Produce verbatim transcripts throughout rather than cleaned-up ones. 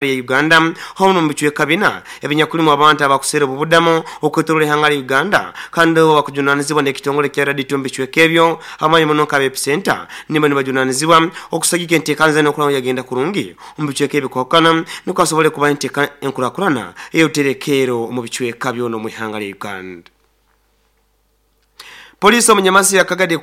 Uganda hono mu bicweka bina ebinyakulimu abantu abakusera obubudamu okwetorola ihanga lya Uganda kandi bakujunanizibwa n'ekitongole kya Radio mu bicweka ebyo amanyi muno nka epicenter nimba nibajunanizibwa okusagika enteekaniza n'okulaba yagenda kurungi omu bicweka ebikwakana niko asobole kuba enteeka enkurakurana ey'obuterekeero mu bicweka byona omu ihanga lya Uganda. Polisi omunyamasi yakagade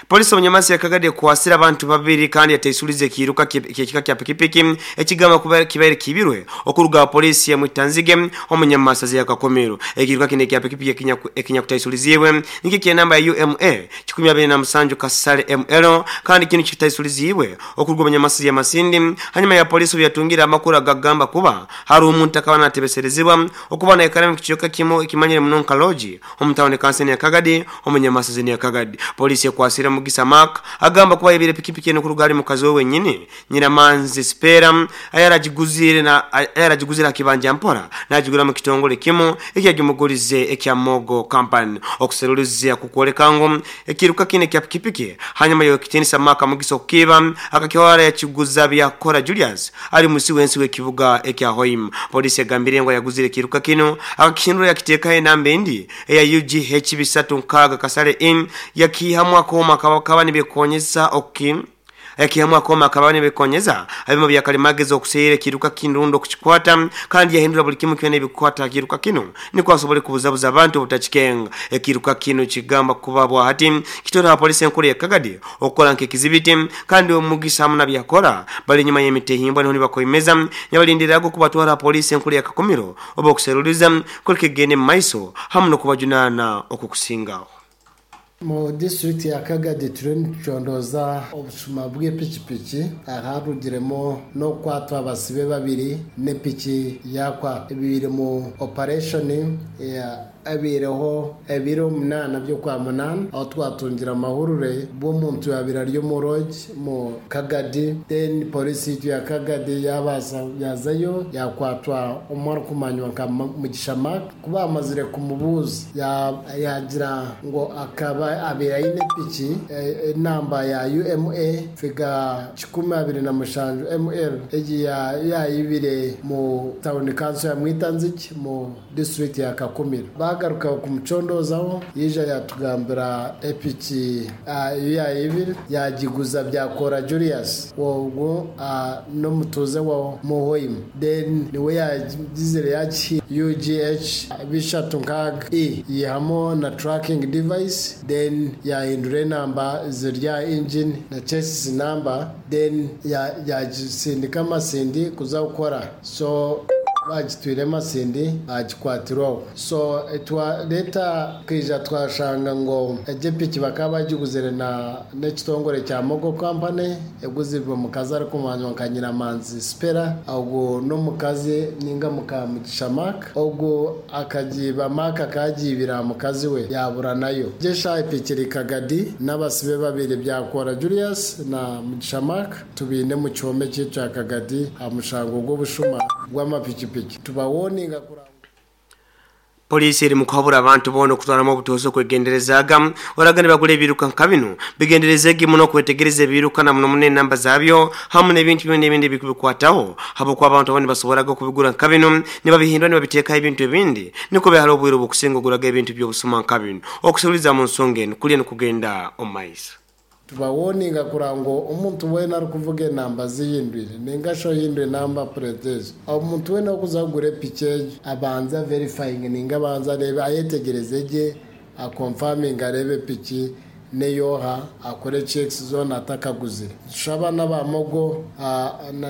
Polisi omunyamasi yakagade kuwasira abantu babiri kandi yateisulize ekiruka kyekika kya pikipiki ekigamba kuba kibaire kibirwe okuruga polisi ya Mwitanzige omunyamasi yakakomero. Ekiruka kine kya pikipiki ekinya kutaisuliziwe niki kya namba ya U M A kikumi abiri na musanju kasale M L kandi kino kitaisuliziwe okuruga omunyamasi ya Masindi. Hanyuma ya polisi yatungira amakuru agagamba kuba hari omuntu akaba natebeserezibwa okuba na ekaremu kichoka kimo ekimanyire muno nka loji omutawuni kanseni ya Kagadi omunyamasi ya Kagadi. Polisi yakwasira Mugisa Mark agamba kuba yebire pikipiki eno kurugali mukazi we wenyini Nyiramanzi Spera ayarajiguzire na ayarajiguzira kibanja mpora najigura mu kitongole kimu ekyagimugulize ekya Mogo Company okuserulizia kukwoleka ngo ekiruka kine kya pikipiki. Hanyuma yo kitinisa Mark Mugisa okukiba akakiwara yakiguza byakora Julius ali musi wensi wekibuga ekya Hoim. Polisi yagambire ngo yaguzire kiruka kino akakindura yakiteka enamba endi eya U G H bisatu nkaga kasale in yakihamwa koma kaba nibekonyeza oki yakihamwa koma kaba nibekonyeza abimo byakalimageza okuseyere kiruka kindundo kuchikwata kandi yahindura buli kimu kyone bikwata kiruka kino niko asobole kubuzabuza abantu obutachikenga. Ekiruka kino kigamba kuba bwa hati kitora polisi enkuru ya Kagadi okola nk'ekizibiti kandi omugisa hamuna byakora bali nyuma y'emitehimbwa niho nibakoimeza nyabalindirago kubatwara polisi enkuru ya Kakumiro oba okuseruliza kulikegene maiso hamu n'okubajunana okukusingaho. Mu district ya Kagadi turiyo nitucondoza obushuma bw'epikipiki aharugiremo n'okukwatwa abasibe babiri n'epiki yakwa ebiri mu operation ya abireho ebiro munana byo kwa munana aho twatungira amahurure bw'omuntu yabira ryo mu roji mu Kagadi. Then polisi ya Kagadi yabaza yazayo yakwatwa umara kumanywa nka Mugisha Mark kuba amazire kumubuza yagira ngo akaba abira ine piki enamba ya U M A figa kikumi abiri na mushanju M L egi yayibire mu town council ya Mwitanziki mu district ya Kakumiro. Bagaruka kumucondozaho yija yatugambira epiki yayibire yagiguza byakora Julius wogwo no mutuze wa Muhoim. Then niwe yagizire yaki U G H bishatu nkaga e yihamo na tracking device then yahindura enamba zirya engine na chassis number then yagisindika amasindi kuza gukora so bagitwire amasindi bagikwatirwaho. So twa leta kwija twashanga ngo ejepiki bakaba bagiguzire na n'ekitongore kya Mogo Company eguzirwe mukazi arikumanywa nka Nyiramanzi Spera ogwo n'omukazi ninga muka Mugisha Mark ogwo akagiba Mark akagibira mukazi we yabura nayo. Jesha epikiri Kagadi n'abasibe babiri byakora Julius na Mugisha Mark tubine mu kyome kya Kagadi amushango gw'obushuma gw'amapikipiki tubawoninga kura. Polisi eri mukuhabura abantu boona okutwaramu obutuuzi okwegenderezaga oragane bagula ebiruka nka bino bigenderezege muno okwetegereza ebiruka na muno muno enamba zaabyo hamu n'ebintu byona ebindi ebikubikwataho habwokuba abantu abandi basoboraga okubigura nka bino nibabihindura nibabiteekaho ebintu ebindi niko behara obwire obukusinga oguraga ebintu by'obusuma nka bino. Okusuuliza mu nsonga eno kulya nikugenda omu maiso. Tubawoninga kurango omuntu wena arikuvuga enamba zihindwire ninga sho hindwe namba plate omuntu wena okuza kugura epiki egyo abanza verifying ninga abanza arebe ayetegereze gye akonfaminga arebe epiki neyoha akore checks zona atakaguzire. Tushaba n'abamogo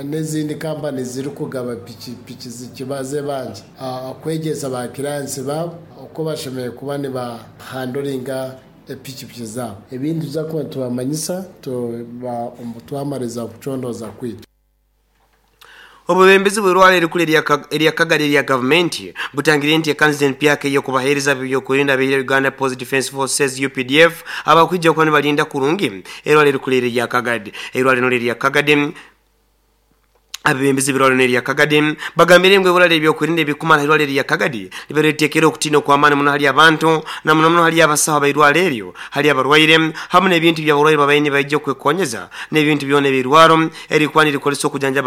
n'ezindi kampani ziri kugaba piki piki zikibaze bangi okwegyesa ba clients babo uko bashemereire kuba nibahandoringa epikipiki zabo. Ebindi tuza kuba tubamanyisa twamariza kucondoza kwitu. Obubembezi bw'erwala erikulu erya Kagadi erya gavumenti butangire nti ekanisa empyaka ey'okubaheereza ebyokurinda abeire Uganda Post Defence Forces U P D F abakwija okuba nibalinda kurungi erwala erikulu erya Kagadi. Erwala lino erya Kagadi Abebembezi b'irwariro erya Kagadi bagambire ngu ibura ly'ebyokwerinda ebikumara irwariro erya Kagadi libareetekera okutiina okw'amaani muno hali abantu, na muno muno hali abasaho abairwaro eryo, hali abarwaire hamu n'ebintu by'abarwaire babaire nibaija okwekonyeza n'ebintu byona ebirwaro erikuba nirikozesa okujanjaba.